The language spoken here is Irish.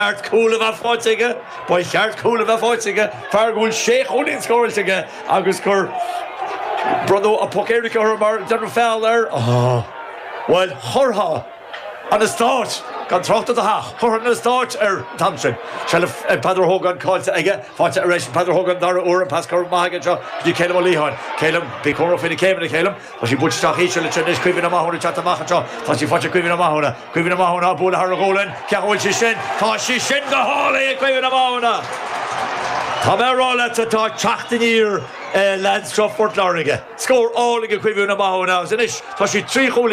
Cheart cúl a bheith faighte aige, ba cheart cúl a bheith faighte aige, fear go bhfuil sé chúilín scóráilte aige agus gur bronnadh an poc éirice orthu mar déanadh feall air. Bhuel, chuirfeá an eastát, gan trácht ar do theach, chuirfeá an eastát air an t-am sin. Seilbh ag Peadar Ó hÓgáin caillte aige, faighte ar ais ag Peadar Ó hÓgáin an dara huair, an pas curtha maith aige anseo go dtí Calum Ó Liatháin. Calum, bí cúramach faoi na céimeanna, Calum. Tá sí buailte isteach íseal ansin anois, Caoimhín Ó Mathúna ag teacht amach anseo. Tá sí faighte ag Caoimhín Ó Mathúna. Caoimhín Ó Mathúna á bualadh thar a ghualainn. Cén chaoi a bhfuil sí sin? Tá sí sin go hálainn ag Caoimhín Ó Mathúna! Tá mé a rá leat, tá teacht aniar ag leaids seo Phort Láirge. Scór álainn ag Caoimhín Ó Mathúna agus anois tá sí 3 chúilín.